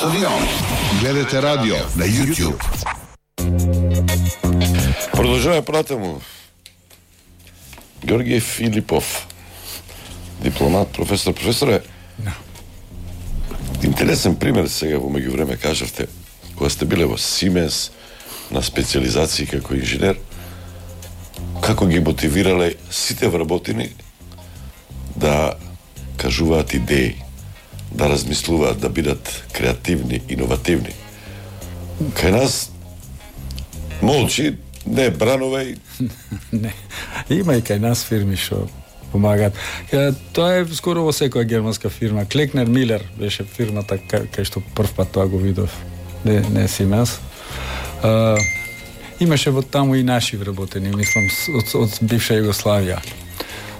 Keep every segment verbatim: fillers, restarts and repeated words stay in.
Стадион. Гледате радио на YouTube. Продолжаваме понатаму. Георгиј Филипов, дипломат, професор, професоре. No. Интересен пример сега во меѓувреме кажавте, кога сте биле во Сименс на специализации како инженер, како ги мотивирале сите вработени да кажуваат идеи, да размислуваат, да бидат креативни, иновативни. Кај нас молчи, не бранувај. Не. Има и кај нас фирми што помагаат. Тоа е скоро во секоја германска фирма. Клекнер Милер беше фирмата кај што прв пат тоа го видов. Не, не Сименс. Uh, имаше во таму и наши вработени, мислам, од, од бивша Југославија.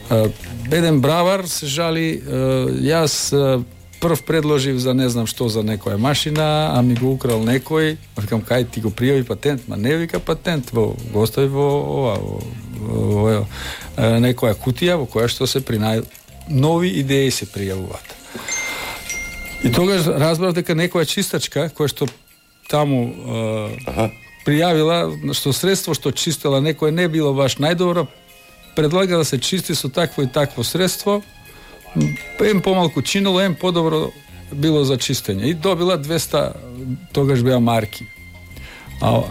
Uh, еден бравар се жали, uh, јас uh, прв предложив за не знам што за некоја машина, а ми го украл некој, викам кај ти го пријави патент, ма не вика патент, во го остави во ова, во, во, во, во некоја кутија во која што се при нај нови идеи се пријавуваат. И тогаш разбрав дека некоја чистачка која што таму uh, пријавила што средство што чистела некој не било баш најдобро, предлага да се чисти со такво и такво средство, ем помалку чинело, ем подобро било за чистење. И добила двеста, тогаш беа марки. А,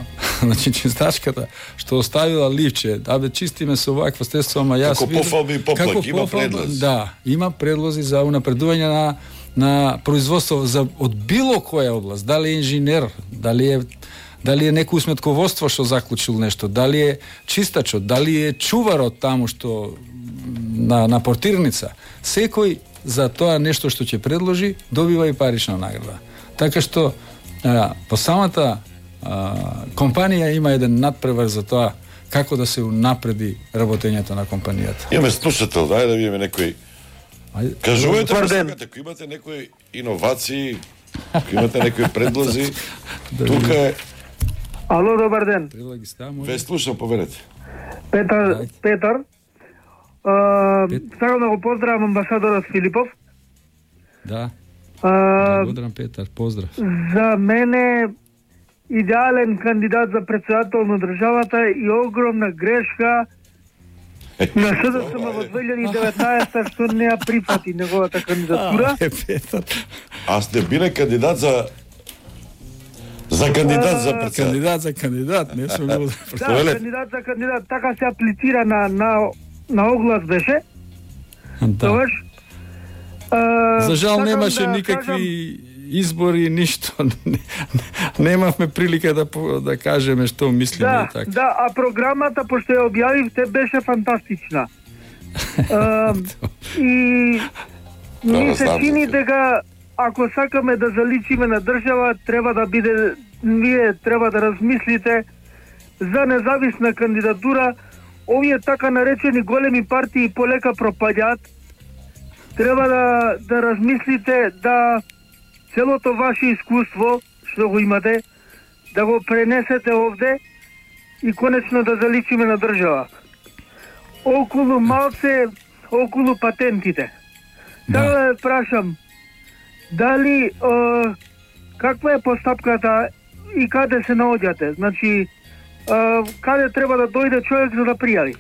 значи чистачката што оставила ливче, да бе чистиме со вакво средство, ама јас како пофалби и поплак, има предлози. Да, има предлози за унапредување на на производство за од било која област, дали е инженер, дали е дали е некој сметководство што заклучил нешто, дали е чистачот, дали е чуварот таму што на на портирница. Секој за тоа нешто што ќе предложи добива и парична награда. Така што а, по самата а, компанија има еден надпревар за тоа како да се унапреди работењето на компанијата. Имаме слушател, дај да видиме некој. Кажувајте, ако имате некои иновации, ако имате некои предлози, тука е... Ало, добар ден. Ве слушам, поверете. Петар, Петар. Uh, сакам да го поздравам амбасадорот Филипов. Да. Uh, Благодарам, Петар, поздрав. За мене идеален кандидат за председател на државата и огромна грешка на СДСМ во две илјади и деветнаесета што не ја прифати неговата кандидатура. А сте биле кандидат за за кандидат за председател. Кандидат за кандидат, не сум бил. Да, кандидат за кандидат, така се аплицира на на на оглас беше. Да. За жал немаше да никакви кажам... избори, ништо. Немавме прилика да да кажеме што мислиме да, и така. Да, а програмата пошто ја објавивте беше фантастична. uh, и ми се чини дека ако сакаме да заличиме на држава, треба да биде, вие треба да размислите за независна кандидатура. Овие така наречени големи партии полека пропаѓаат. Треба да да размислите да целото ваше искуство што го имате да го пренесете овде и конечно да заличиме на држава. Околу малце, околу патентите. Сега да ве прашам, дали е, каква е постапката и каде се наоѓате? Значи, е, каде треба да дојде човек за да пријави?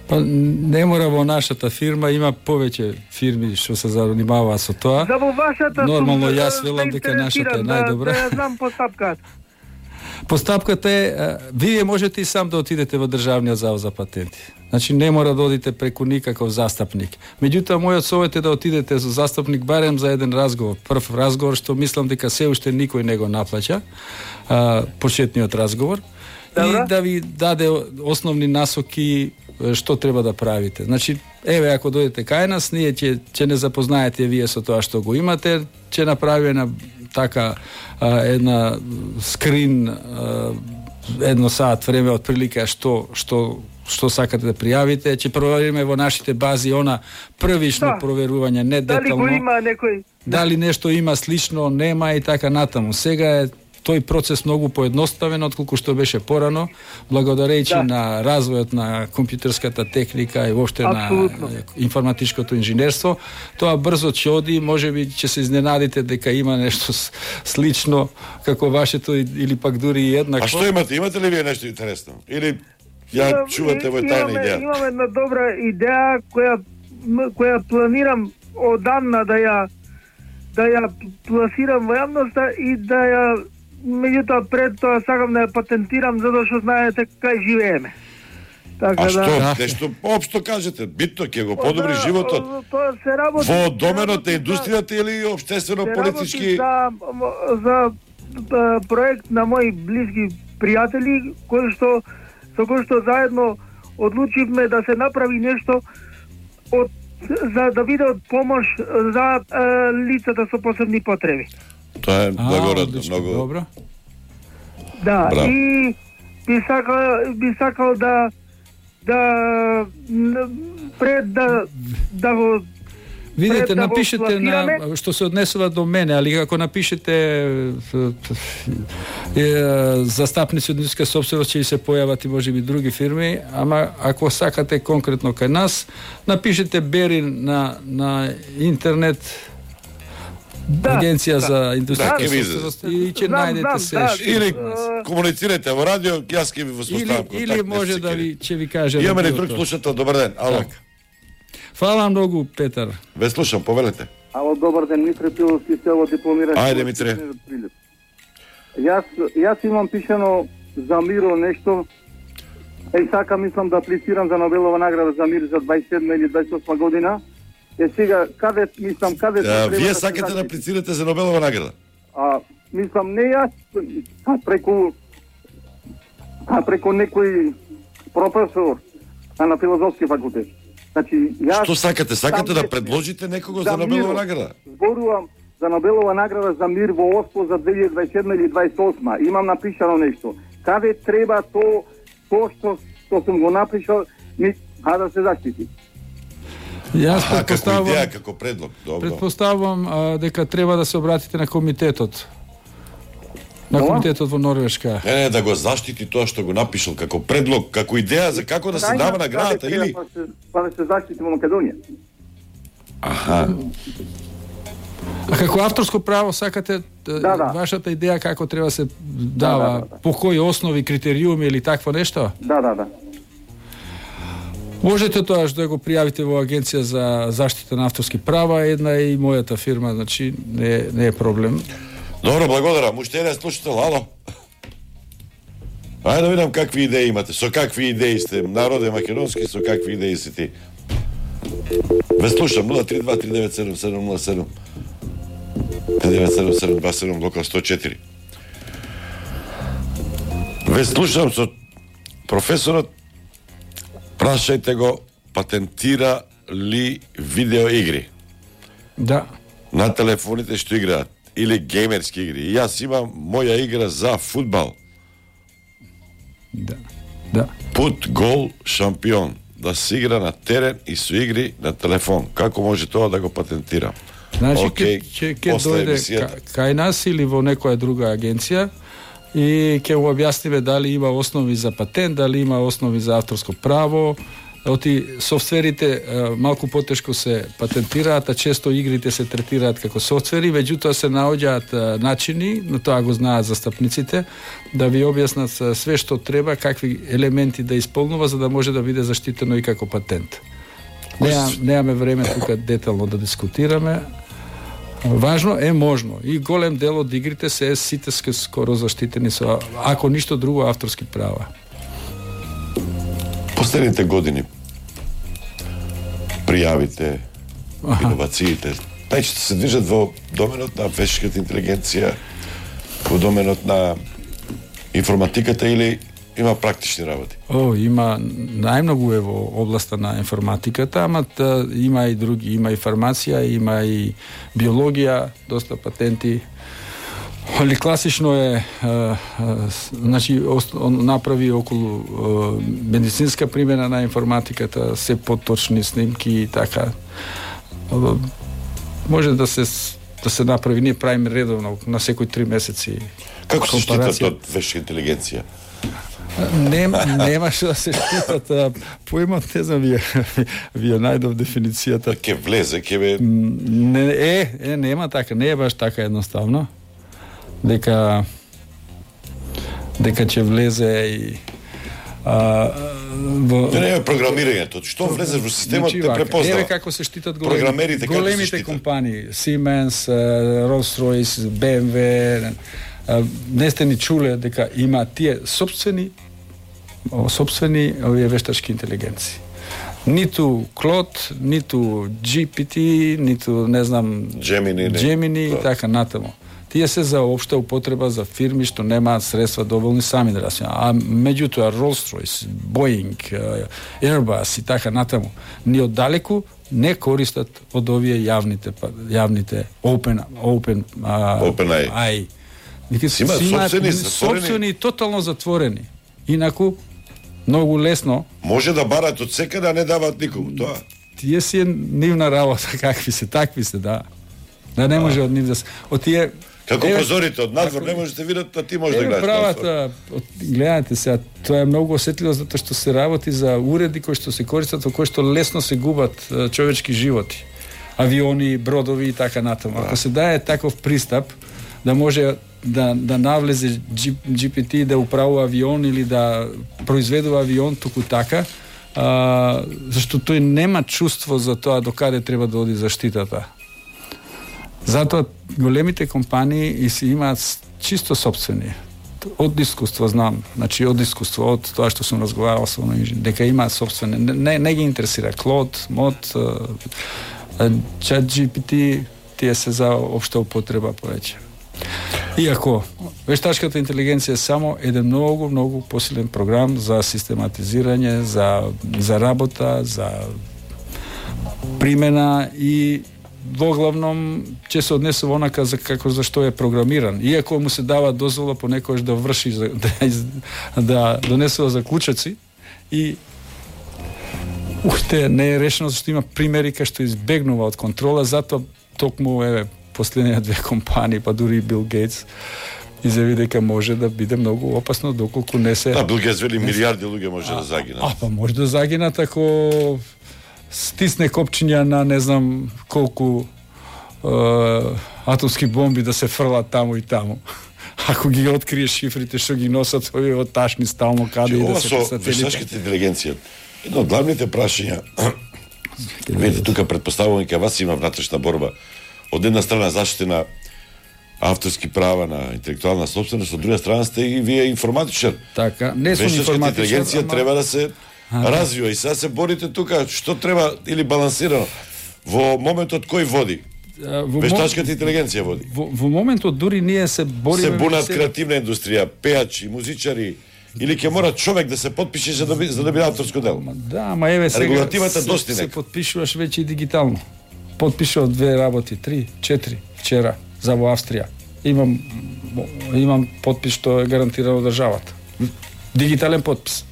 Па не мора во нашата фирма, има повеќе фирми што се занимаваат со тоа. За во вашата нормално сум, јас велам дека нашата е најдобра. Да, да ја знам постапката. Постапката е, вие можете и сам да отидете во Државниот завод за патенти. Значи не мора да одите преку никаков застапник. Меѓутоа мојот совет е да отидете со застапник барем за еден разговор, прв разговор што мислам дека се уште никој не го наплаќа, а, почетниот разговор. Добра. И да ви даде основни насоки што треба да правите. Значи, еве ако дојдете кај нас, ние ќе ќе не запознаете вие со тоа што го имате, ќе направиме една така а, една скрин а, едно саат време од прилика што што што сакате да пријавите, ќе провериме во нашите бази она првично да. Проверување, не детално. Дали го има некој? Дали нешто има слично, нема и така натаму. Сега е тој процес многу поедноставен отколку што беше порано, благодарејќи да. на развојот на компјутерската техника и воопште на информатичкото инженерство. Тоа брзо ќе оди, можеби ќе се изненадите дека има нешто слично како вашето или пак дури и еднакво. А што имате? Имате ли вие нешто интересно? Или ја чувате во тајна идеја? Имам една добра идеја која која планирам одамна да ја да ја пласирам во јавноста и да ја, меѓутоа пред тоа сакам да ја патентирам, затоа што знаете кај живееме. Така, а што, да. нешто општо кажете, битно ќе го подобри да, животот. Тоа се работи во доменот на индустријата или општествено политички? За, за проект на мои блиски пријатели, кои што со кои што заедно одлучивме да се направи нешто од за да биде од помош за е, лицата со посебни потреби. Тоа е благородно, многу добро. Да, Браво. И би сакал би сакал да да пред да да го видите, напишете на што се однесува до мене, али ако напишете е, застапници од индустријска сопственост ќе се појават и можеби други фирми, ама ако сакате конкретно кај нас, напишете Бери на на интернет да, агенција да, за индустријска да, сопственост и ќе најдете се. Да, или комуницирате во радио, јас ќе ви воспоставам контакт. Или може да ви ќе ви кажам. Имаме ли друг слушател? Добар ден. Ало. Так. Фала многу, Петар. Ве слушам, повелете. Ало, добар ден, Митре Пиловски, село дипломиран. Ајде, Митре. Јас, јас имам пишано за миро нешто. Е, сака, мислам да аплицирам за Нобелова награда за мир за дваесет и седма или дваесет и осма година. Е, сега, каде, мислам, каде... А, вие да сакате да аплицирате за Нобелова награда? А, мислам, не јас, а преку... А преку некој професор на филозофски факултет. Значи, јас... Што сакате? Сакате да предложите некого за, за Нобелова награда? Зборувам за Нобелова награда за мир во ОСПО за две илјади дваесет и седма или дваесет и осма. Имам напишано нешто. Каде треба то, то што, што сум го напишал, ми, а да се заштити? Јас а, како идеја, како предлог. Добро. Предпоставувам а, дека треба да се обратите на комитетот. На комитетот во Норвешка. Не, не, да го заштити тоа што го напишал како предлог, како идеја за како да се дава наградата или па да се заштити во Македонија. Аха. А како авторско право сакате да, да. вашата идеја како треба се дава, да, да, да. по кои основи, критериуми или такво нешто? Да, да, да. Можете тоа да го пријавите во Агенција за заштита на авторски права, една и мојата фирма, значи не, не е проблем. Добро, благодарам. Уште еден слушател, ало. Ајде да видам какви идеи имате. Со какви идеи сте? Народе македонски, со какви идеи си ти? Ве слушам, нула три два три девет седум седум нула седум девет седум седум два седум, локал сто четири. Ве слушам со професорот. Прашајте го, патентира ли видеоигри? Да. На телефоните што играат. Или геймерски игри. И јас имам моја игра за фудбал. Да. Да. Пут, гол, шампион. Да се игра на терен и со игри на телефон. Како може тоа да го патентирам? Значи, okay, ќе ќе дојде кај нас или во некоја друга агенција и ќе го објасниме дали има основи за патент, дали има основи за авторско право. Оти софтверите малку потешко се патентираат, а често игрите се третираат како софтвери, меѓутоа се наоѓаат начини, но тоа го знаат застапниците, да ви објаснат све што треба, какви елементи да исполнува за да може да биде заштитено и како патент. Неа, неаме време тука детално да дискутираме. Важно е можно. И голем дел од игрите се сите скоро заштитени со, ако ништо друго, авторски права. Последните години пријавите, иновациите, најчесто се движат во доменот на вештачката интелигенција, во доменот на информатиката или има практични работи? О, има најмногу е во областа на информатиката, ама та, има и други, има и фармација, има и биологија, доста патенти. Али класично е, а, а, значи, он направи околу а, медицинска примена на информатиката, се поточни снимки и така. А, може да се да се направи, ние правиме редовно на секои три месеци. Како се штитат од вештачка интелигенција? Нема, нема што да се штитат. Поимот, не знам, вие, вие најдов дефиницијата. Ке влезе, ке бе... Не, е, е, нема така, не е баш така едноставно. Дека дека ќе влезе и а, во... Не, не е програмирањето. Што влезеш во системот, те препознава. Еве како се штитат големи, Програмерите како големите се штитат? компании, Siemens, Rolls-Royce, би ем дабљу, не сте ни чуле дека има тие собствени собствени овие вештачки интелигенции. Ниту Клод, ниту джи пи ти, ниту не знам Gemini, не. Gemini и така натаму. Тие се за општа употреба за фирми што немаат средства доволни сами да расијат. А меѓутоа Rolls-Royce, Boeing, Airbus и така натаму ни оддалеку не користат од овие јавните јавните open open OpenAI. AI. Си имаат собствени, затворени. собствени тотално затворени. Инаку многу лесно Може да барат од секаде, а не даваат никому тоа. тие си е нивна работа, какви се, такви се, да. Да не може од нив да се... Од тие... Како Еве, позорите од надвор не можете видат, а ти можеш да Еве гледаш. правата, од- гледате сега, тоа е многу осетливо затоа што се работи за уреди кои што се користат, во кои што лесно се губат е, човечки животи. Авиони, бродови и така натаму. Ако се дае таков пристап да може да да навлезе джи пи ти да управува авион или да произведува авион туку така, а, зашто тој нема чувство за тоа до каде треба да оди заштитата. Затоа големите компании и си имаат чисто собствени. Од искуство знам, значи од искуство, од тоа што сум разговарал со оној инженер, дека имаат собствени, не, не ги интересира Клод, Мод, Чат джи пи ти, тие се за општа употреба повеќе. Иако вештачката интелигенција е само еден многу, многу посилен програм за систематизирање, за, за работа, за примена и воглавном ќе се однесува онака за како за што е програмиран. Иако му се дава дозвола понекогаш да врши да, да донесува заклучоци и уште не е решено зашто има примери кај што избегнува од контрола, затоа токму еве последните две компании, па дури и Бил Гейтс изјави дека може да биде многу опасно доколку не се... Да, Бил Гейтс вели милиарди луѓе може да загинат. А, па може да загинат ако стисне копчиња на не знам колку е, атомски бомби да се фрлат таму и таму. Ако ги открие шифрите што ги носат овие од ташни стално каде и да се со вештачката интелигенција. Едно од главните прашања, видите тука предпоставувам дека вас има внатрешна борба. Од една страна заштита на авторски права на интелектуална собственост, од друга страна сте и вие информатичар. Така, не сум Вештачката информатичар, интелигенција ама... треба да се развива и сега се борите тука што треба или балансирано. Во моментот кој води? Во Вештачката интелигенција води. Во, во моментот дури ние се бориме... Се бунат се... креативна индустрија, пеачи, музичари, или ќе мора човек да се потпише за да би, за да биде авторско дело. Да, ама еве сега Регулативата се, достигне. се потпишуваш веќе и дигитално. Потпишував две работи, три, четири вчера за во Австрија. Имам имам потпис што е гарантирано државата. Дигитален потпис.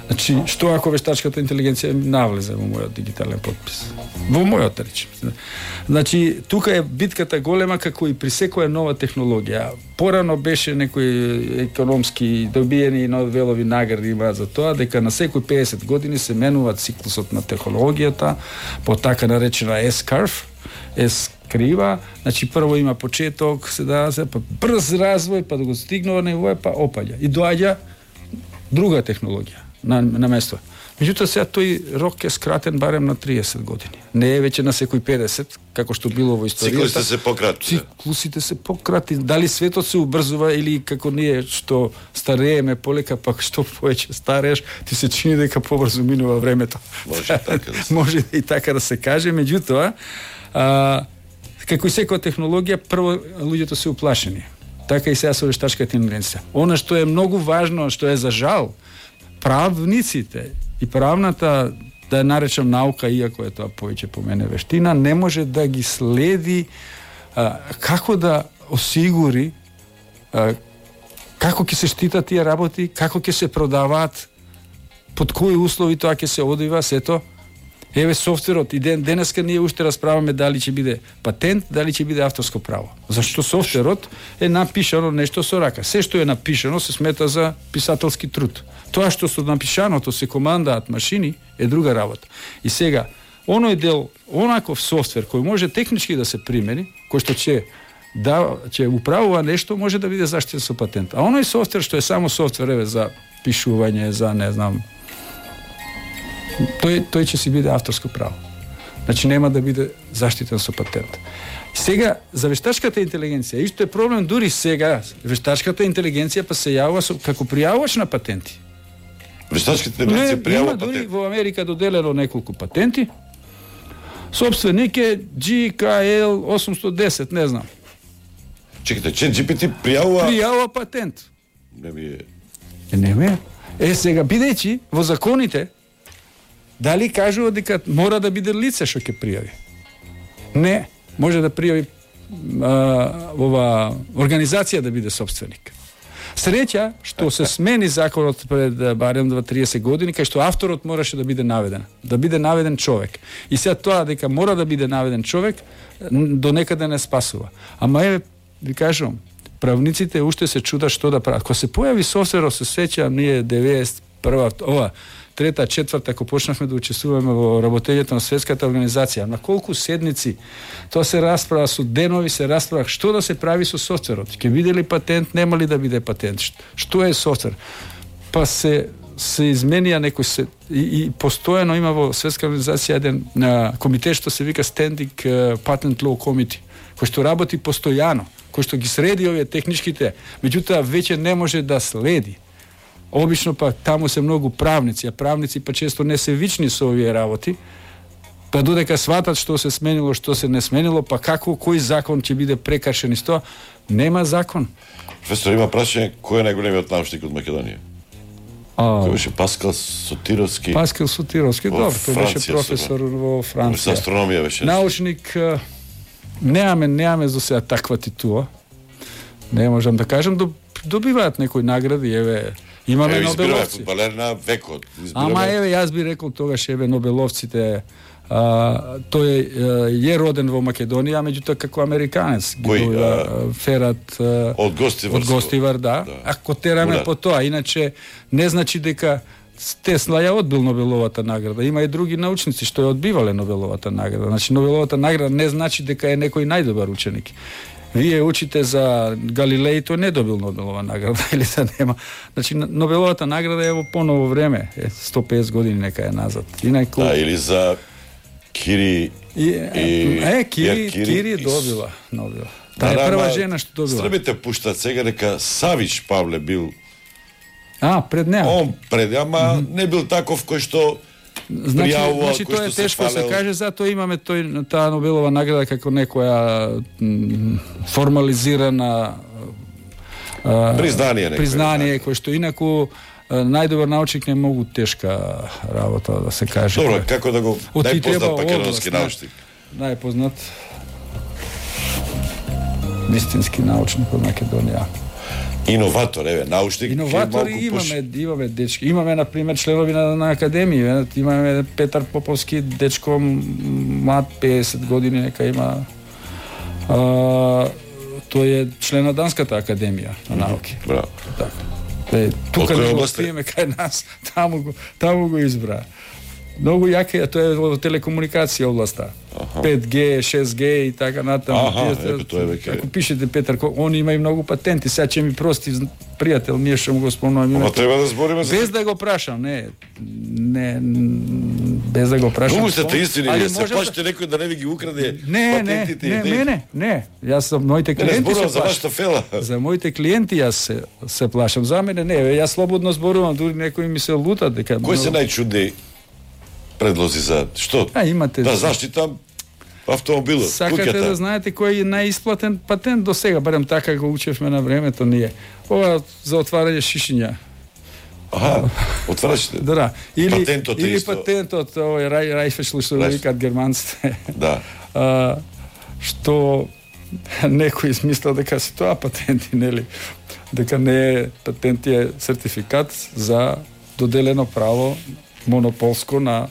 Значи, што ако вештачката интелигенција навлезе во мојот дигитален потпис? Во мојот, речем. Значи, тука е битката голема како и при секоја нова технологија. Порано беше некои економски добиени Нобелови награди имаат за тоа дека на секој педесет години се менува циклусот на технологијата по така наречена S-curve, S-крива, значи прво има почеток, се дава се, па брз развој, па да го стигнува ниво, па опаѓа. И доаѓа друга технологија на, на место. Меѓутоа сега тој рок е скратен барем на триесет години. Не е веќе на секој педесет, како што било во историјата. Циклусите се пократни. Циклусите се пократни. Дали светот се убрзува или како ние што старееме полека, пак што повеќе старееш, ти се чини дека побрзо минува времето. Може така да се. Може и така да се каже, меѓутоа, а, како и секоја технологија, прво луѓето се уплашени. Така и сега со вештачката интелигенција. Она што е многу важно, што е за жал, правниците и правната, да ја наречам наука, иако е тоа повеќе по мене вештина, не може да ги следи а, како да осигури а, како ќе се штитат тие работи, како ќе се продаваат, под кои услови тоа ќе се одвива, сето. Еве софтверот и ден денеска ние уште расправаме дали ќе биде патент, дали ќе биде авторско право. Зашто софтверот е напишано нешто со рака. Се што е напишано се смета за писателски труд. Тоа што со напишаното се командаат машини е друга работа. И сега оној дел, онаков софтвер кој може технички да се примени, кој што ќе да ќе управува нешто, може да биде заштитен со патент. А оној софтвер што е само софтвер еве за пишување, за не знам, тој тој ќе си биде авторско право. Значи нема да биде заштитен со патент. Сега за вештачката интелигенција, исто е проблем дури сега. Вештачката интелигенција па се јавува со, како пријавувач на патенти. Вештачката интелигенција пријавува патенти. Дури во Америка доделено неколку патенти. Собственик е Джи К Л осумстотини и десет, не знам. Чекайте, че Джи Пи Ти пријавува пријавува патент. Не би е. Е, не ме. Е, сега бидејќи во законите дали кажува дека мора да биде лице што ќе пријави? Не, може да пријави а, ова организација да биде собственик. Среќа што се смени законот пред барем триесет години, кај што авторот мораше да биде наведен, да биде наведен човек. И сега тоа дека мора да биде наведен човек до некаде не спасува. Ама е, ви кажувам, правниците уште се чудат што да прават. Кога се појави софтверот, се сеќавам ние деветдесет и прва, ова трета, четврта, ако почнавме да учествуваме во работењето на светската организација, на колку седници тоа се расправа, со денови се расправа што да се прави со софтверот. Ќе биде ли патент, нема ли да биде патент? Што е софтвер? Па се се изменија некој се и, и постојано има во светска организација еден на комитет што се вика Standing Patent Law Committee, кој што работи постојано, кој што ги среди овие техничките, меѓутоа веќе не може да следи. Обично па таму се многу правници, а правници па често не се вични со овие работи, па додека сватат што се сменило, што се не сменило, па како, кој закон ќе биде прекршен и што, нема закон. Професор, има прашање, кој е најголемиот научник од Македонија? А, Кој беше Паскал Сотировски? Паскал Сотировски, добро, тој беше професор во Франција. Со астрономија беше. Научник, неаме, неаме за сега таква титула. Не можам да кажам, добиваат некои награди, еве, имаме еве, Нобеловци. Фудбалер на векот. Избираме... Ама еве, јас би рекол тогаш, еве, Нобеловците, а, тој е, е роден во Македонија, меѓутоа како американец. Кој? Ги, а, Ферат а, од Гостивар. Од Гостивар, да. да. Ако тераме Ура. по тоа, иначе не значи дека Тесла ја одбил Нобеловата награда. Има и други научници што ја одбивале Нобеловата награда. Значи Нобеловата награда не значи дека е некој најдобар ученик. Вие учите за Галилеј, тој не добил Нобелова награда или да нема. Значи Нобеловата награда е во поново време, е сто и песет години нека е назад. Инаку... Да, или за Кири и, и... Е, Кири, Кири, Кири добила Нобел. Таа е прва жена што добила. Србите пуштат сега дека Савич Павле бил. А, пред неа. Он пред, ама mm -hmm. не бил таков кој што Значи, пријавува, значи кој тоа е што тешко се се каже, затоа имаме тој таа Нобелова награда како некоја м, формализирана а, признание, признание кој што инаку најдобар научник не многу тешка работа да се каже. Добро, како да го најпознат македонски научник? Најпознат вистински научник од Македонија. Иноватор, еве, научник. Иноватори имаме, имаме дечки. Имаме, на пример, членови на, на академија. Имаме Петар Поповски, дечко млад песет години, нека има. А, тој е член на Данската академија на науки. Браво. Така. Е, тука не го спиеме кај нас, таму го, таму го избра. Многу јака е, тоа е во телекомуникација областа. Аха. пет Г, шест Г и така натаму. Аха, епе, тоа е веќе. Ако пишете Петар, он има и многу патенти. Сега ќе ми прости пријател, ние што му го спомнувам. Ама треба да збориме за... Без да го прашам, не. Не, без да го прашам. Многу сте истини, али се плашите некој да не ви ги украде не, патентите и не, не, не, не, јас сум моите клиенти се за вашата фела. За моите клиенти јас се, се плашам. За мене не, јас слободно зборувам, дури некои ми се лутат дека... Кој се најчудни предлози за што? А, имате... Да заштита автомобилот, Сакате куќата. да знаете кој е најисплатен патент до сега, барем така го учевме на времето ние. Ова за отварање шишиња. Аха, отварачите. Да, или патентот или исто. патентот, овој рај рајфешлу што Рајф. викаат германците. Да. А, што некој измислил дека се тоа патенти, нели? Дека не е патент, е сертификат за доделено право монополско на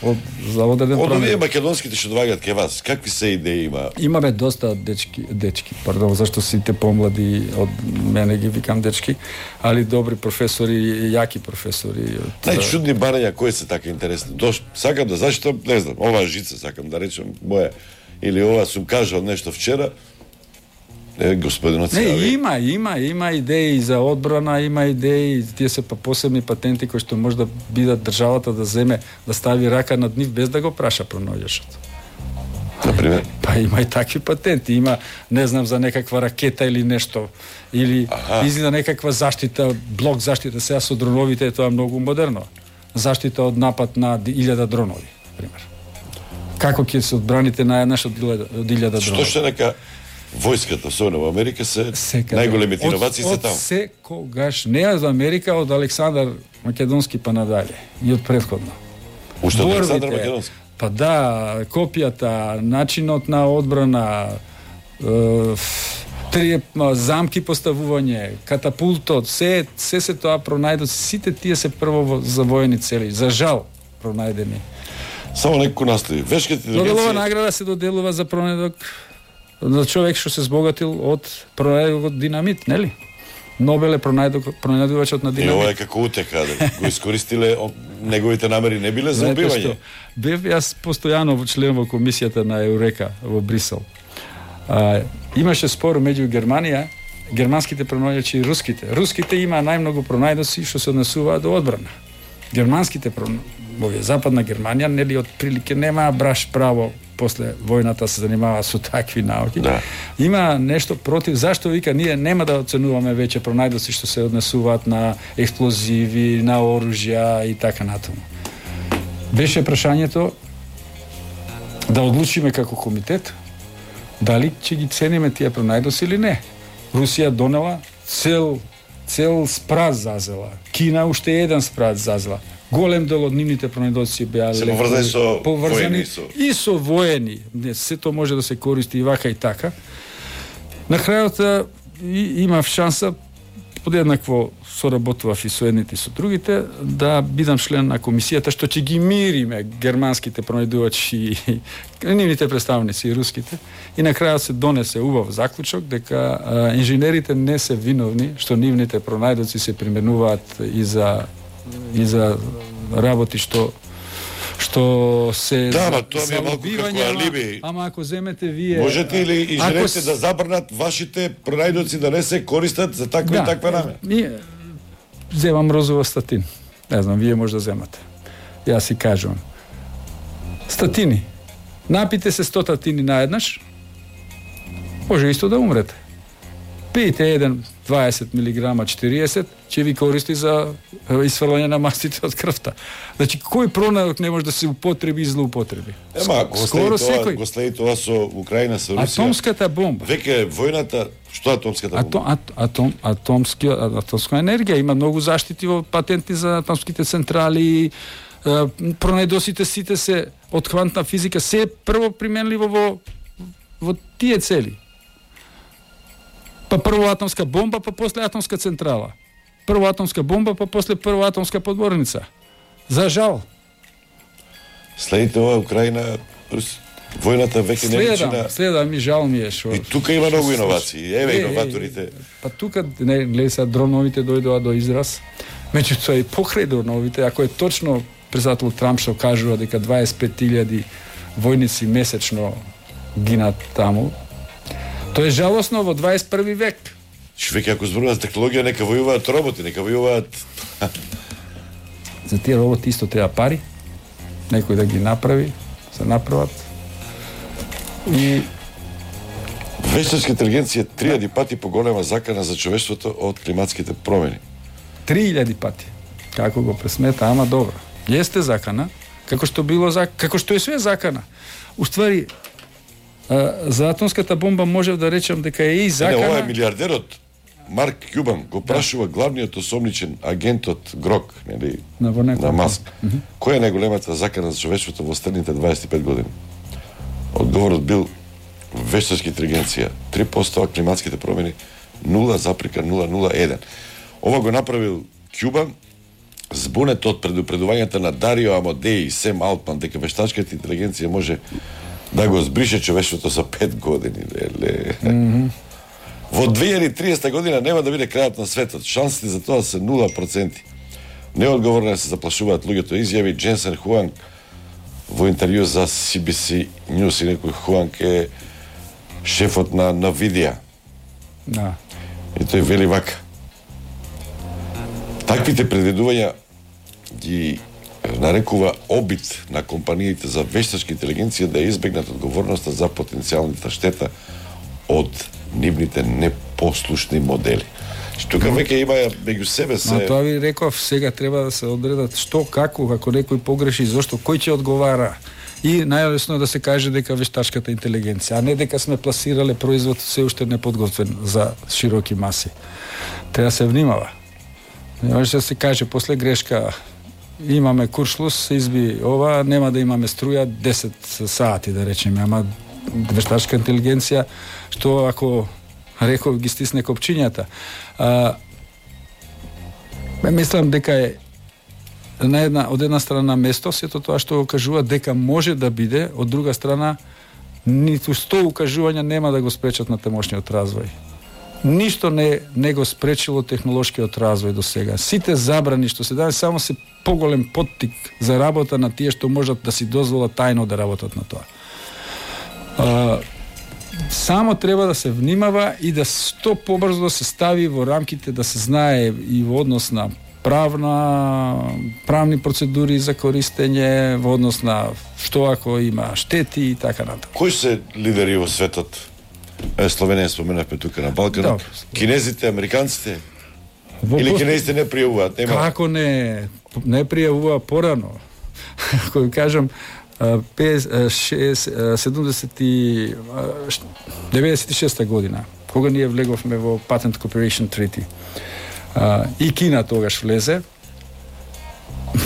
од за одреден Од овие промен. македонските што доаѓаат ке вас, какви се идеи има? Имаме доста дечки, дечки, пардон, зашто сите помлади од мене ги викам дечки, али добри професори, јаки професори. Од... Најчудни барања кои се така интересни. Дош, сакам да зашто, не знам, оваа жица сакам да речем моја или ова сум кажал нешто вчера. Е, господинот Не, се има, има, има идеи за одбрана, има идеи, тие се па посебни патенти кои што може да бидат државата да земе, да стави рака над нив без да го праша пронаоѓачот. Например? Па има и такви патенти, има, не знам, за некаква ракета или нешто, или Аха. излиза некаква заштита, блок заштита, сега со дроновите е тоа многу модерно. Заштита од напад на илјада дронови, пример. Како ќе се одбраните наеднаш од илјада Што дронови? што нека војската, особено во Америка, се Секаде. најголемите иновации се од, таму. Од секогаш, не од Америка, од Александар Македонски па надале и од претходно. Уште од Борбите, Александар Македонски. Па да, копијата, начинот на одбрана, е, три замки поставување, катапултот, се се се тоа пронајдоци, сите тие се прво во, за воени цели, за жал пронајдени. Само некој настои. Вешката Нобелова интелигенција награда се доделува за пронајдок за човек што се збогатил од пронајдокот динамит, нели? Нобел е пронајдок, пронајдувачот на и динамит. ова е како утека, да го искористиле, о, неговите намери не биле за Знаете убивање. што, бев јас постојано член во комисијата на Еурека во Брисел. А, имаше спор меѓу Германија, германските пронајдоци и руските. Руските има најмногу пронајдоци што се однесуваат до одбрана. Германските во западна Германија нели од прилике нема браш право после војната се занимава со такви науки. Да. Има нешто против, зашто вика ние нема да оценуваме веќе пронајдоци што се однесуваат на експлозиви, на оружја и така натаму. Беше прашањето да одлучиме како комитет дали ќе ги цениме тие пронајдоци или не. Русија донела цел цел спрат зазела. Кина уште еден спрат зазела. Голем дел од нивните пронајдоци беа Се поврзани со поврзани воени, со- и со воени. Не, сето може да се користи и вака и така. На крајот и, имав шанса подеднакво соработував и со едните и со другите да бидам член на комисијата што ќе ги мириме германските пронајдувачи и нивните представници и руските и на крајот се донесе убав заклучок дека а, инженерите не се виновни што нивните пронајдоци се применуваат и за и за работи што што се Да, за- ма, тоа ми е за малку како убивање, ама- алиби. Ама ако земете вие Можете или инженерите ако с- да забрнат вашите пронајдоци да не се користат за таква и таква намера? Ние земам розова статин. Не знам, вие може да земате. Јас си кажувам. Статини. Напите се сто статини наеднаш, може исто да умрете. Пиете еден дваесет милиграма четириесет, ќе ви користи за е, исфрлање на мастите од крвта. Значи, кој пронајдок не може да се употреби и злоупотреби? Ема, го Скоро следи тоа, секој. го следи тоа со Украина, со Русија. Атомската бомба. Веќе војната, што е атомската бомба? Атом, ат, атом, атомски, атомска енергија има многу заштити во патенти за атомските централи. Е, пронајдоците сите се од квантна физика се е прво применливо во во тие цели. Па прво атомска бомба, па после атомска централа. Прво атомска бомба, па после прво атомска подморница. За жал. Следите ова Украина, Рус... војната веќе не личи Следам, на... следам и жал ми е што. И тука има многу иновации. Еве Е, е, иноваторите. Па тука не гледа се дроновите дојдоа до израз. Меѓутоа и покрај дроновите, ако е точно председател Трамп што кажува дека дваесет и пет илјади војници месечно гинат таму, тоа е жалосно во дваесет и први век. Што веќе ако зборуваме за технологија, нека војуваат роботи, нека војуваат... За тие роботи исто треба пари, некој да ги направи, се направат. И Вештачка интелигенција три илјади пати поголема закана за човештвото од климатските промени. три илјади пати. Како го пресмета, ама добро. Јесте закана, како што било за како што е све закана. Уствари а, за атомската бомба можев да речам дека е и закана. Не, ова е милиардерот Марк Кјубан го прашува главниот осомничен агент од Грок, нели, На во некој- на Маск. Која е најголемата закана за човештвото во следните дваесет и пет години? Одговорот бил вештачка интелигенција три проценти, а климатските промени нула запрека нула нула еден. Ова го направил Кјубан збунет од предупредувањата на Дарио Амодеи и Сем Алтман дека вештачката интелигенција може да го збрише човештвото за пет години. Леле. Mm-hmm. Во две илјади и триесета година нема да биде крајот на светот. Шансите за тоа се нула проценти. Неодговорно се заплашуваат луѓето, изјави Дженсен Хуанг во интервју за Си Би Си News. И некој Хуанг е шефот на Nvidia. Да. И тој вели вака: таквите предвидувања ги нарекува обид на компаниите за вештачка интелигенција да избегнат одговорноста за потенцијалната штета од нивните непослушни модели. Тука веќе има меѓу себе се... Но тоа ви реков, сега треба да се одредат што, како, ако некој погреши, зошто, кој ќе одговара. И најлесно е да се каже дека вештачката интелигенција, а не дека сме пласирале производ се уште неподготвен за широки маси. Треба да се внимава. Не може да се каже после грешка имаме куршлус, се изби ова, нема да имаме струја десет сати, да речеме, ама вештачка интелигенција, што ако реков ги стисне копчињата. А, мислам дека е на една, од една страна место сето тоа што го кажува дека може да биде, од друга страна ниту сто укажувања нема да го спречат на тамошниот развој. Ништо не, не го спречило технолошкиот развој до сега. Сите забрани што се даде само се поголем поттик за работа на тие што можат да си дозволат тајно да работат на тоа. А, само треба да се внимава и да што побрзо да се стави во рамките, да се знае и во однос на правна, правни процедури за користење, во однос на што ако има штети и така натаму. Кои се лидери во светот? Е, Словенија споменавме тука на Балканот. Да. Кинезите, американците? Во Или кинезите не пријавуваат? Нема... Како не? Не пријавува порано. Кој кажам, седумдесет и деветдесет и шеста година, кога ние влеговме во Patent Cooperation Treaty. Uh, и Кина тогаш влезе.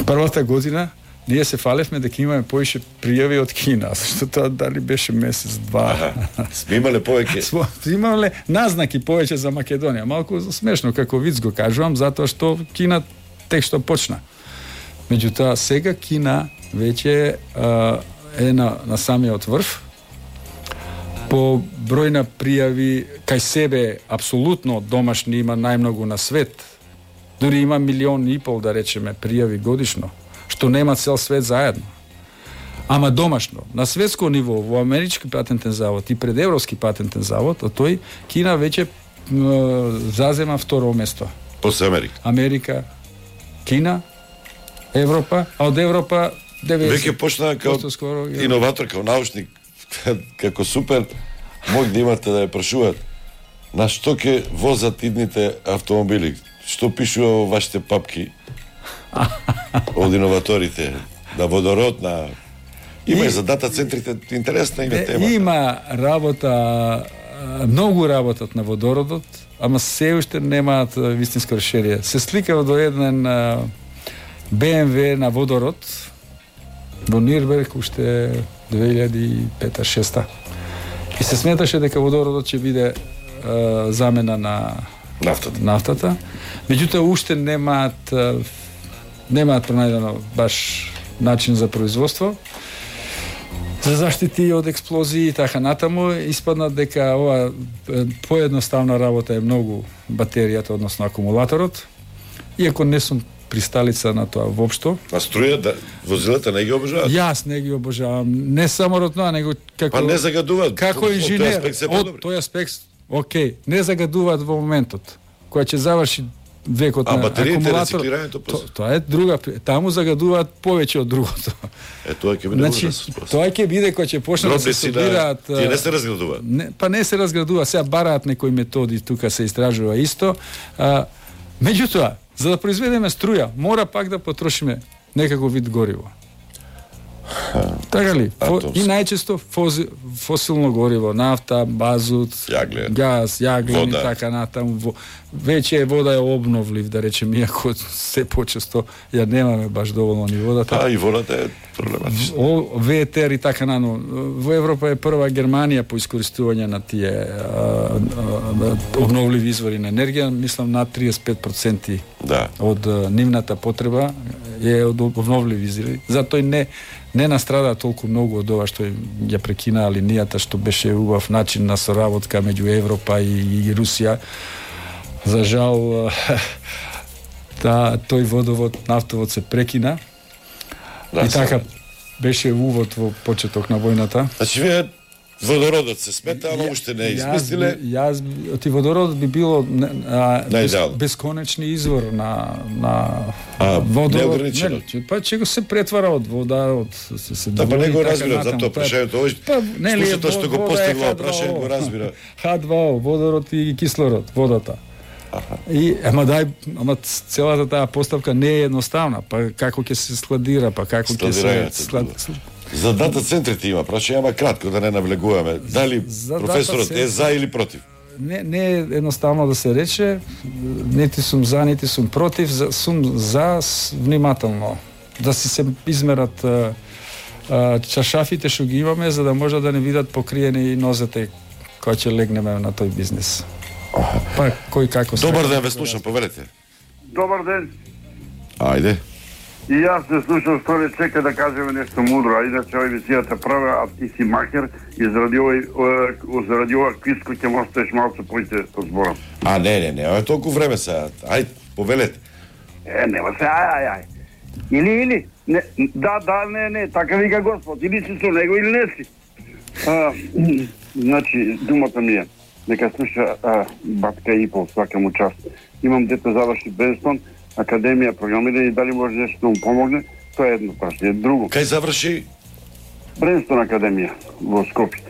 Првата година ние се фалевме дека имаме поише пријави од Кина, зашто тоа дали беше месец, два. Сме имале повеќе. Сме имале назнаки повеќе за Македонија. Малку смешно како виц го кажувам, затоа што Кина тек што почна. Меѓутоа сега Кина веќе uh, е на, на самиот врв. По број на пријави кај себе апсолутно домашни има најмногу на свет. Дури има милион и пол, да речеме, пријави годишно, што нема цел свет заедно. Ама домашно, на светско ниво, во Амерички патентен завод и пред Европски патентен завод, а тој Кина веќе м, зазема второ место. После Америка. Америка, Кина, Европа, а од Европа деветдесет. Веќе почна како скоро, иноватор, како научник, како супер, мој да имате да ја прашуваат на што ќе возат идните автомобили, што пишува во вашите папки од иноваторите, на водород, на... Има и за дата центрите, интересна има тема. Има работа, многу работат на водородот, ама се уште немаат вистинско решение. Се сликава до еден Б М В на водород во Нирберг уште две илјади и пета шеста. И се сметаше дека водородот ќе биде е, замена на нафтата. нафтата. Меѓутоа уште немаат немаат пронајдено баш начин за производство. За заштити од експлозии и така натаму, испадна дека ова поедноставна работа е многу батеријата, односно акумулаторот. Иако не сум присталица на тоа воопшто. А струја, да, возилата не ги обожаваат? Јас не ги обожавам. Не само од тоа, него како... Па не загадуваат. Како инженер, од тој аспект, окей, не загадуваат во моментот. Која ќе заврши векот а, на акумулатор. То, тоа е друга, таму загадуваат повеќе од другото. Е, тоа ќе биде значи, тоа ќе биде кога ќе почне да се собираат. Тие не се разградуваат. Не, па не се разградува, сега бараат некои методи, тука се истражува исто. А, меѓутоа, за да произведеме струја, мора пак да потрошиме некако вид гориво. Така ли? Фо, Атомски. и најчесто фози, фосилно гориво, нафта, базут, Јаглен. газ, јаглен Вода. и така натаму. Во, веќе вода е обновлив, да речем, иако се почесто ја немаме баш доволно ни водата. А и водата е проблематична. О, ветер и така нано. Во Европа е прва Германија по искористување на тие а, а, обновливи извори на енергија, мислам над триесет и пет проценти Да. од а, нивната потреба е од обновливи извори. Затоа и не не настрада толку многу од ова што ја прекинаа линијата, што беше убав начин на соработка меѓу Европа и, и Русија. За жал та, тој водовод, нафтовод се прекина. Да, и така само. беше увод во почеток на војната. Значи, вие водородот се смета, ама уште не измислиле. Јас, јас ти водородот би било а, без, Најдал. бесконечни извор на на А, водород. неограничено. Не, че- па ќе го се претвара од вода, од се, се Да, па двои не и го така разбирам, натаму. затоа Па- прашањето овој Па, нели, слушател што го вода е постигнува Х два О. прашање го разбира. Х два О, водород и кислород, водата. И ама дај, ама целата таа поставка не е едноставна, па како ќе се складира, па како ќе се Складирањето, склад... За дата центрите има прашање, ама кратко да не навлегуваме. Дали За професорот дата е за или против? Не, не е едноставно да се рече, нити сум за, нити сум против, за, сум за с- внимателно, да си се измерат а, а, чашафите што ги имаме, за да може да не видат покриени нозете кои ќе легнеме на тој бизнес. Па, кој како Добар сака. ден, ве слушам, повелете. Добар ден. Ајде. И јас се слушам сторе, чека да кажеме нешто мудро, а иначе овој висијата права, а ти си макер и заради овој о, заради ова квиско ќе му оставиш малку поите од зборам. А, не, не, не, ова е толку време сега. Ајде, повелете. Е, нема се, ај, ај, ај. Или, или, не, да, да, не, не, така вика Господ, или си со него или не си. А, значи, думата ми е, нека слуша а, батка Ипол, свака му част. Имам дете заврши Бренстон, академија, програмирање, дали може нешто да му помогне, тоа е едно прашање. Друго, Кај заврши? Бренстон академија во Скопје.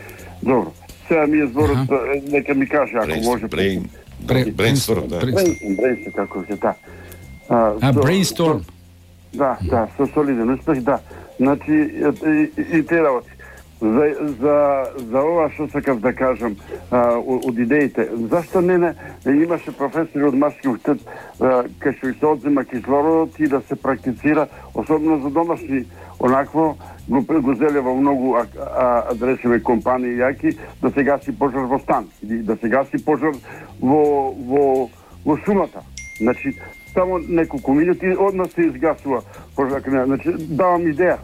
Добро. Сега ми е зборот, е, нека ми каже ако може. Брейн, Бре- брейнсторм, да. брейн- Бренстон, Бренстон, како ќе та. А, со- brainstorm. Да, да, со солиден успех, да. Значи, и, и, и те работи. За, за, за ова што сакав да кажам а, од, од идеите, зашто не, не имаше професори од Машки уштет кај што се одзема кислородот и да се практицира, особено за домашни, онакво го, го зеле во многу а, а, да речеме компании јаки, да се гаси пожар во стан, или да се гаси пожар во, во, во шумата. Значи, само неколку минути одма се изгасува пожар. Значи, давам идеја.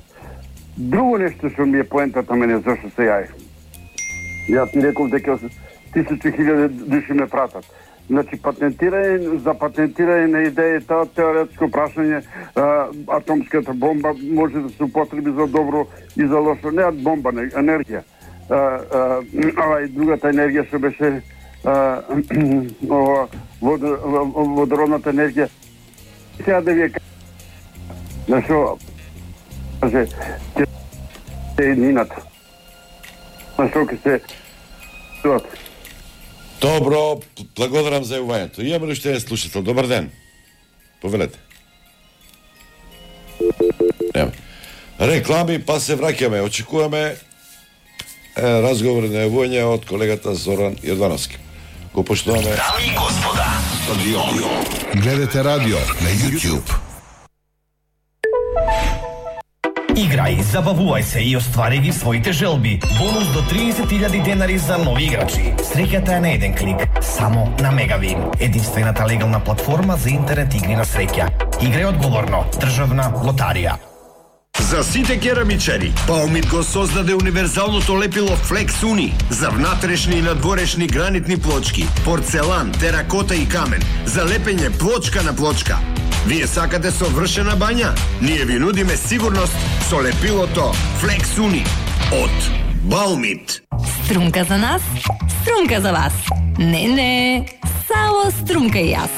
Друго нешто што ми е поентата мене зашто се јај. Ја ти реков дека тисучи хиляди души ме пратат. Значи патентирање за патентирање на идејата, теоретско прашање, а, атомската бомба може да се употреби за добро и за лошо, не бомба, не енергија. А, а, ова и другата енергија што беше а, ова водо, водородната енергија. Сега да ви е зашто каже ќе се нината. Зашто ќе се Добро, благодарам за јавувањето. Имаме ли уште еден слушател? Добар ден. Повелете. Нема. Реклами, па се враќаме. Очекуваме е, разговор на јавување од колегата Зоран Јордановски. Го поштуваме. Дами и господа, гледате радио на YouTube. Играј, забавувај се и оствари ги своите желби. Бонус до триесет илјади денари за нови играчи. Среќата е на еден клик, само на Мегавин, единствената легална платформа за интернет игри на среќа. Играј одговорно. Државна лотарија. За сите керамичари, Баумит го создаде универзалното лепило Flex Uni за внатрешни и надворешни гранитни плочки, порцелан, теракота и камен, за лепење плочка на плочка. Вие сакате совршена бања? Ние ви нудиме сигурност со лепилото Flex Uni од Баумит. Струмка за нас, струмка за вас. Не, не, само струмка и јас.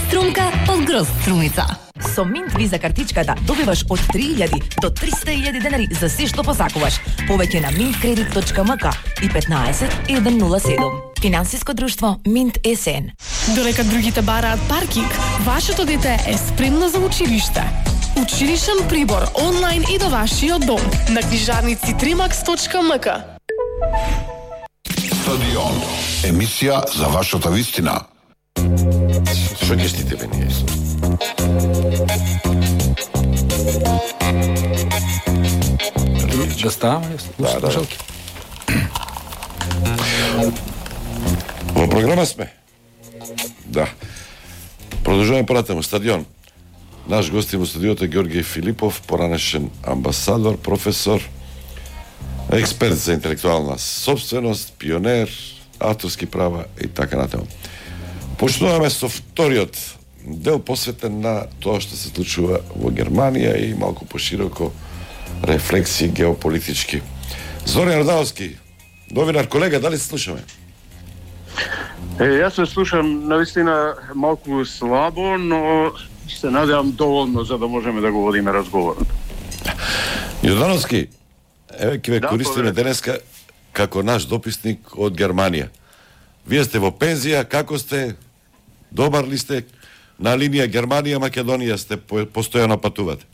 Струмка од Гроз Струмица. Со Минт Виза картичката добиваш од три илјади до триста илјади денари за се што посакуваш. Повеќе на минт кредит точка ем ка и петнаесет еден нула седум. Финансиско друштво Минт СН. Додека другите бараат паркинг, вашето дете е спремно за училиште. Училишен прибор онлайн и до вашиот дом на книжарници тримакс точка ем ка. Стадион. Емисија за вашата вистина. Што ќе штите бе ние? Да ставаме, да, да. Во програма сме. Да. Продолжуваме понатаму. Стадион. Наш гостин во студиото е Георги Филипов, поранешен амбасадор, професор, експерт за интелектуална собственост, пионер, авторски права и така натаму. Почнуваме со вториот дел посветен на тоа што се случува во Германија и малку пошироко рефлексии геополитички. Зоран Јордановски, новинар, колега, дали се слушаме? Е, јас се слушам навистина малку слабо, но се надевам доволно за да можеме да го водиме разговорот. Јордановски, еве ќе ве да, користиме денеска како наш дописник од Германија. Вие сте во пензија, како сте? Добар ли сте? На линија Германија-Македонија сте постојано патувате?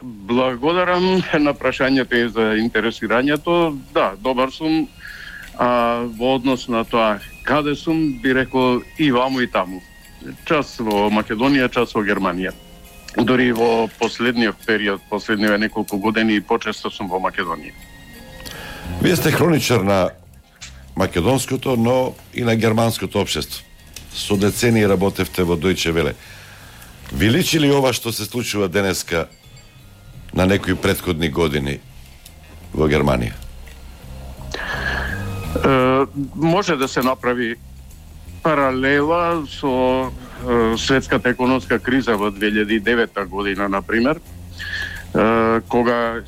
Благодарам на прашањето и за интересирањето. Да, добар сум. А во однос на тоа каде сум, би рекол и ваму и таму. Час во Македонија, час во Германија. Дори во последниот период, последниве неколку години, почесто сум во Македонија. Вие сте хроничар на македонското, но и на германското општество. Со децении работевте во Дојче Веле. Ви личи ли ова што се случува денеска на некои претходни години во Германија? Е, може да се направи паралела со е, светската економска криза во две илјади и девета година, например, е, кога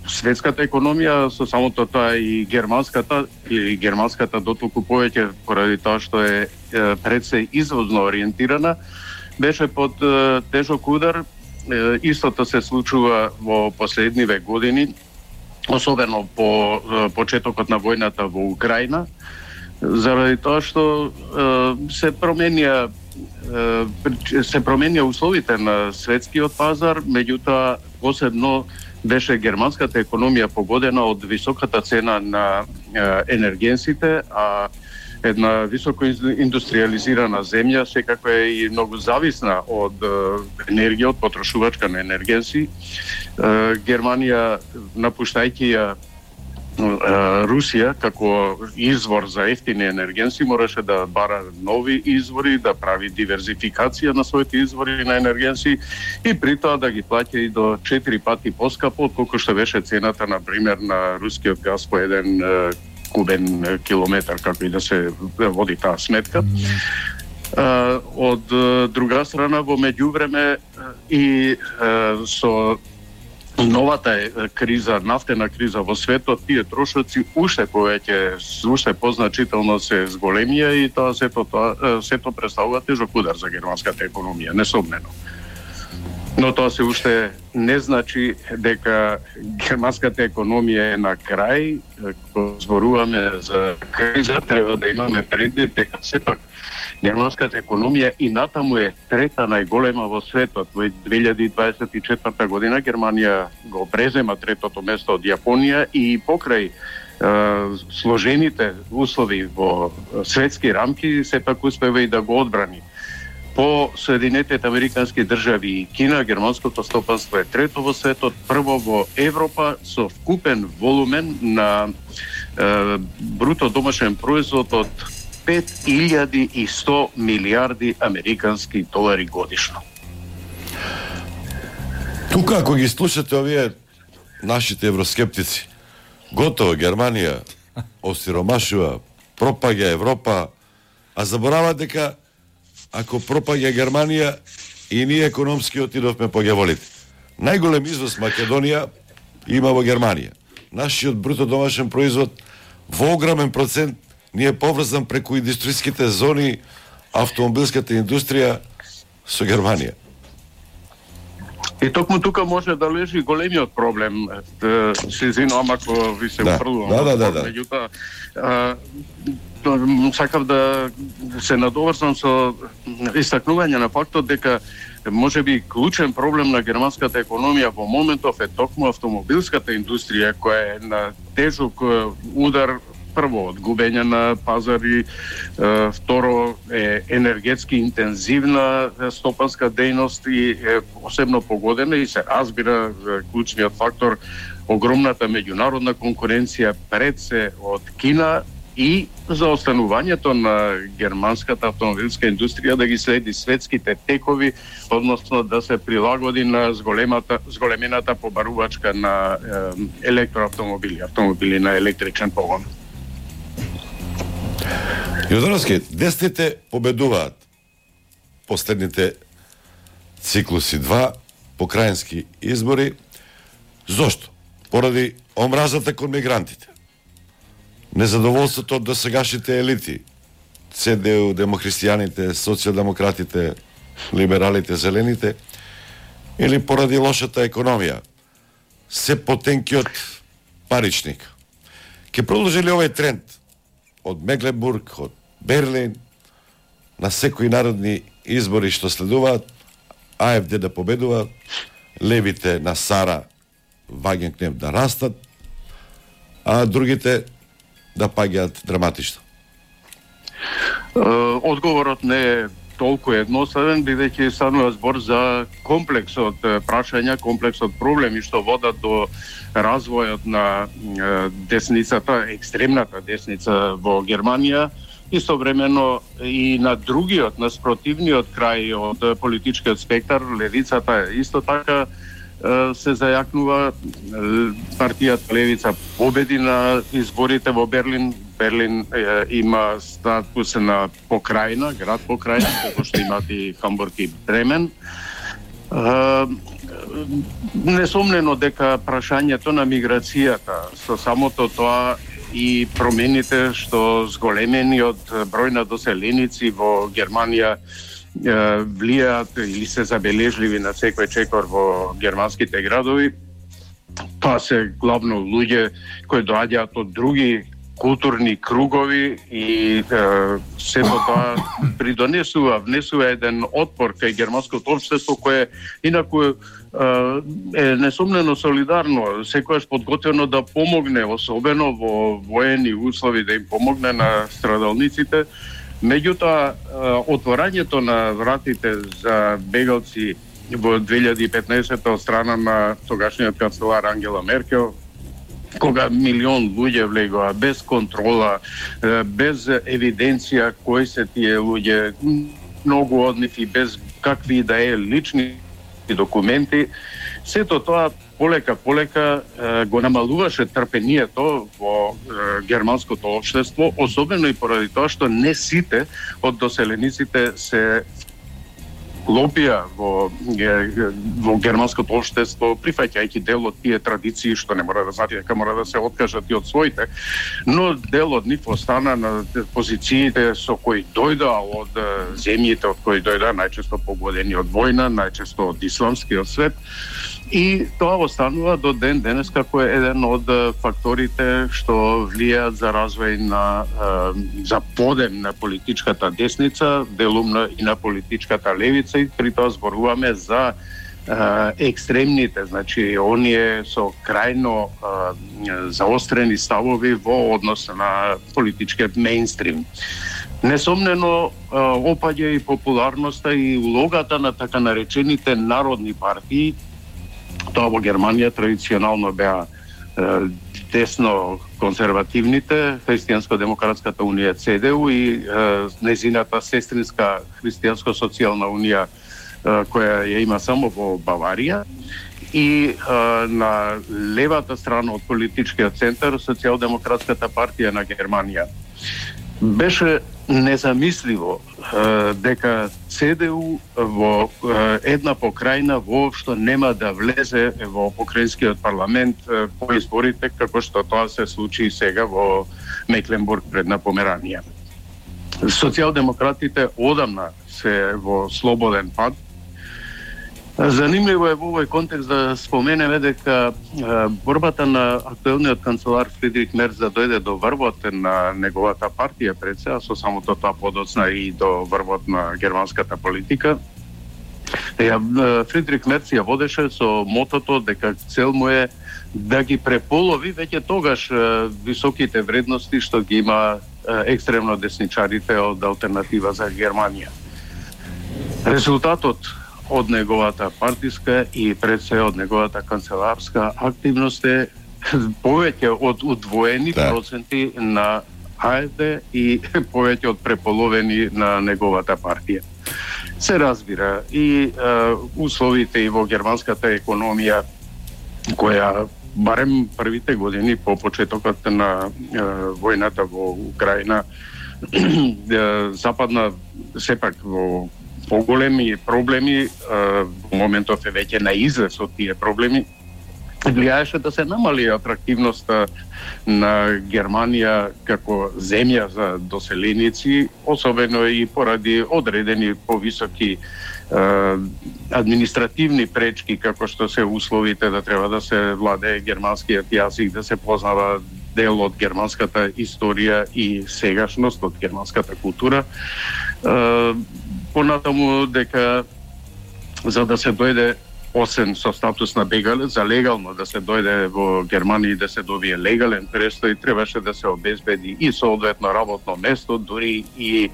светската економија со самото тоа и германската или германската дотолку повеќе поради тоа што е, е пред се извозно ориентирана, беше под е, тежок удар. Е, истото се случува во последниве години, особено по е, почетокот на војната во Украина, заради тоа што е, се променија е, се променија условите на светскиот пазар, меѓутоа посебно беше германската економија погодена од високата цена на е, енергенсите, а една високо индустриализирана земја секако е и многу зависна од е, енергија, од потрошувачка на енергенси. Е, Германија, напуштајќи ја Русија како извор за ефтини енергенси, мораше да бара нови извори, да прави диверзификација на своите извори на енергенси и при тоа да ги плаќа и до четири пати поскапо отколку што беше цената, на пример, на рускиот газ по еден е, кубен километар, како и да се води таа сметка. Е, од друга страна, во меѓувреме и е, со новата криза, нафтена криза во светот, тие трошоци уште повеќе, уште позначително се зголемија и тоа сето тоа сето представува тежок удар за германската економија, несомнено. Но тоа се уште не значи дека германската економија е на крај. Кога зборуваме за криза, треба да имаме предвид дека сепак германската економија и натаму е трета најголема во светот. Во две илјади дваесет и четврта година Германија го презема третото место од Јапонија и покрај е, сложените услови во светски рамки сепак успева и да го одбрани. По Соединетите Американски држави и Кина, германското стопанство е трето во светот, прво во Европа со вкупен волумен на е, бруто домашен производ од пет илјади и сто милиарди американски долари годишно. Тука, ако ги слушате овие нашите евроскептици, готово Германија осиромашува, пропаѓа Европа, а заборават дека ако пропаѓа Германија и ние економски отидовме по ѓаволите. Најголем извоз Македонија има во Германија. Нашиот бруто домашен производ во огромен процент ни е поврзан преку индустријските зони, автомобилската индустрија со Германија. И токму тука може да лежи големиот проблем. Се извинувам ако ви се упрлувам. Да, да, да, да. Меѓутоа, сакав да се надоврзам со истакнување на фактот дека може би клучен проблем на германската економија во моментов е токму автомобилската индустрија која е на тежок удар, прво од губење на пазари, второ е енергетски интензивна стопанска дејност и е посебно погодена и се разбира клучниот фактор огромната меѓународна конкуренција пред се од Кина и за останувањето на германската автомобилска индустрија да ги следи светските текови, односно да се прилагоди на зголемата, зголемената побарувачка на е, електроавтомобили, автомобили на електричен погон. Јордановски, десните победуваат последните циклуси два покрајински избори. Зошто? Поради омразата кон мигрантите. Незадоволството од досегашните елити, Це Де У, демохристијаните, социјалдемократите, либералите, зелените, или поради лошата економија, се потенкиот паричник. Ке продолжи ли овој тренд од Мекленбург, од Берлин, на секои народни избори што следуваат, АФД да победува, левите на Сара Вагенкнев да растат, а другите да паѓаат драматично? Одговорот не е толку едноставен, бидејќи станува збор за комплекс од прашања, комплекс од проблеми што водат до развојот на десницата, екстремната десница во Германија, истовремено и на другиот, на спротивниот крај од политичкиот спектар, левицата исто така се зајакнува. Партијата Левица победи на изборите во Берлин. Берлин е, има статус на покрајна, град покрајна, како што имат и Хамбург и Бремен. Е, несомнено дека прашањето на миграцијата со самото тоа и промените што зголемениот број на доселеници во Германија влијаат или се забележливи на секој чекор во германските градови. Тоа се главно луѓе кои доаѓаат од други културни кругови и е, сето тоа придонесува, внесува еден отпор кај германското општество кое инаку е, е несомнено солидарно, секојаш подготвено да помогне, особено во воени услови да им помогне на страдалниците. Меѓутоа, отворањето на вратите за бегалци во две илјади и петнаесетта од страна на тогашниот канцелар Ангела Меркел, кога милион луѓе влегоа без контрола, без евиденција кои се тие луѓе, многу од нив и без какви да е лични документи, сето тоа полека полека го намалуваше трпението во германското општество, особено и поради тоа што не сите од доселениците се лопија во, во германското општество, прифаќајќи дел од тие традиции што не мора да знаат дека мора да се откажат и од своите, но дел од нив остана на позициите со кои дојдоа од земјите од кои дојдоа, најчесто погодени од војна, најчесто од исламскиот свет. И тоа останува до ден денес како еден од факторите што влијаат за развој на за подем на политичката десница, делумно и на политичката левица, и при тоа зборуваме за екстремните, значи оние со крајно заострени ставови во однос на политичкиот мејнстрим. Несомнено опаѓа и популарноста и улогата на така наречените народни партии. Тоа во Германија традиционално беа е, десно конзервативните, Христијанско-демократската унија Це Де У и е, незината сестринска Христијанско-социјална унија е, која ја има само во Баварија, и е, на левата страна од политичкиот центар Социјалдемократската партија на Германија. Беше незамисливо е, дека Це Де У во е, една покрајна воопшто нема да влезе во покрајнскиот парламент е, по изборите, како што тоа се случи сега во Мекленбург предна Померанија. Социјалдемократите одамна се во слободен пат. Занимливо е во овој контекст да споменеме дека борбата на актуелниот канцелар Фридрих Мерц да дојде до врвот на неговата партија пред се, а со самото тоа подоцна и до врвот на германската политика. Фридрих Мерц ја водеше со мотото дека цел му е да ги преполови веќе тогаш високите вредности што ги има екстремно десничарите од Алтернатива за Германија. Резултатот од неговата партиска и пред се од неговата канцеларска активност е повеќе од удвоени да. проценти на АФД и повеќе од преполовени на неговата партија. Се разбира и е, условите и во германската економија која барем првите години по почетокот на е, војната во Украина е, западна сепак во поголеми проблеми, во моментов е веќе на излез од тие проблеми, влијаеше да се намали атрактивноста на Германија како земја за доселеници, особено и поради одредени повисоки е, административни пречки, како што се условите да треба да се владее германскиот јазик, да се познава дел од германската историја и сегашност од германската култура. Е, понатаму дека за да се дојде осем со статус на бегалец, за легално да се дојде во Германија и да се добие легален престој, требаше да се обезбеди и соодветно работно место, дури и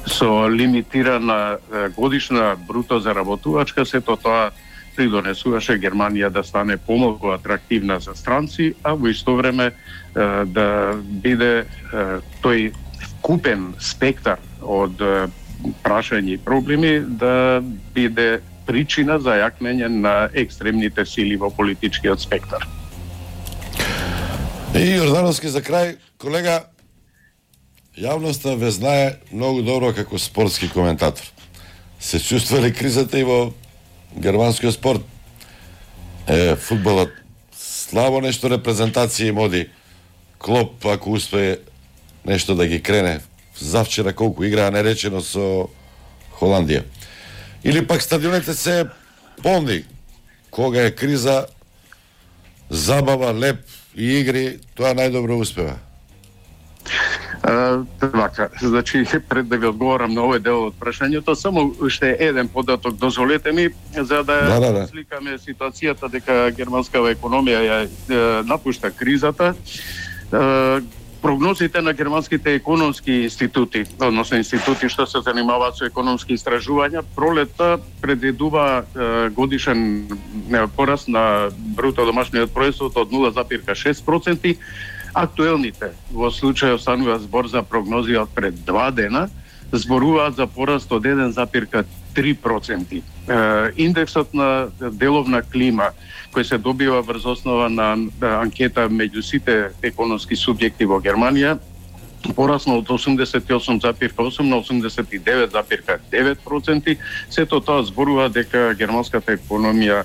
со лимитирана годишна бруто заработувачка, сето тоа придонесуваше Германија да стане помалку атрактивна за странци, а во исто време да биде тој купен спектар од прашања и проблеми да биде причина за јакнење на екстремните сили во политичкиот спектар. И Јордановски за крај, колега, јавноста ве знае многу добро како спортски коментатор. Се чувства ли кризата и во германскиот спорт? Е, фудбалот слабо нешто репрезентација им оди. Клоп, ако успее нешто да ги крене, завчера колку играа неречено со Холандија. Или пак стадионите се полни. Кога е криза, забава, леп и игри, тоа најдобро успева. Така, значи, пред да ви одговорам на овој дел од прашањето, само уште еден податок дозволете ми, за да, да, да, да. сликаме ситуацијата дека германскава економија ја напушта кризата. Прогнозите на германските економски институти, односно институти што се занимаваат со економски истражувања, пролетта предвидува годишен пораст на бруто домашниот производ од нула зарез шест проценти. Актуелните во случај останува збор за прогнози од пред два дена, зборуваат за пораст од еден зарез три проценти. Индексот на деловна клима кој се добива врз основа на анкета меѓу сите економски субјекти во Германија порасна од осумдесет и осум зарез осум на осумдесет и девет зарез девет проценти. Сето тоа зборува дека германската економија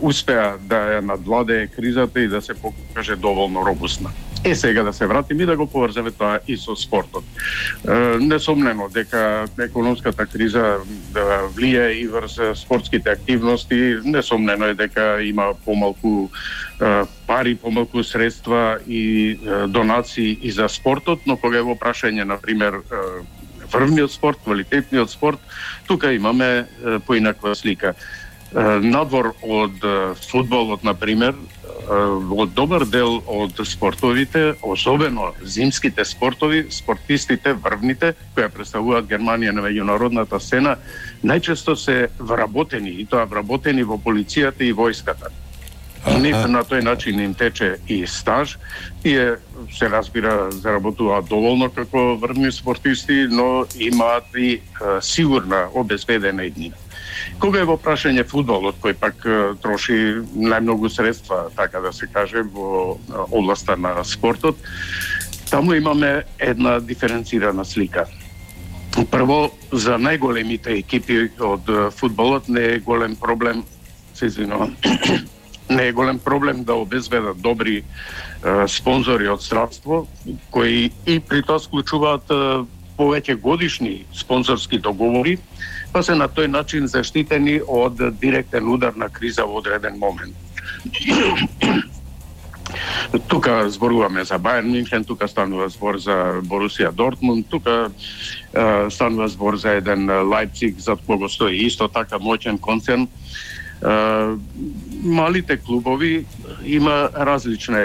успеа да ја надвладее кризата и да се покаже доволно робусна. Е, сега да се вратиме и да го поврземе тоа и со спортот. Е, несомнено дека економската криза да влие и врз спортските активности, несомнено е дека има помалку е, пари, помалку средства и е, донации и за спортот, но кога е во прашање, на пример, е, врвниот спорт, квалитетниот спорт, тука имаме е, поинаква слика. Надвор од фудбалот, на пример, од добар дел од спортовите, особено зимските спортови, спортистите, врвните, кои представуваат Германија на меѓународната сцена, најчесто се вработени, и тоа вработени во полицијата и војската. Нив на тој начин им тече и стаж, тие се разбира заработуваат доволно како врвни спортисти, но имаат и е, сигурна обезбедена иднина. Кога е во прашање фудбалот, кој пак троши најмногу средства, така да се каже, во областа на спортот, таму имаме една диференцирана слика. Прво, за најголемите екипи од фудбалот не е голем проблем, се извинувам, не е голем проблем да обезбедат добри е, спонзори од здравство, кои и при тоа склучуваат е, повеќе годишни спонзорски договори, па се на тој начин заштитени од директен удар на криза во одреден момент. Тука зборуваме за Бајерн Мюнхен, тука станува збор за Борусија Дортмунд, тука е, станува збор за еден Лајпциг за кого стои исто така моќен концерн. Е, малите клубови има различна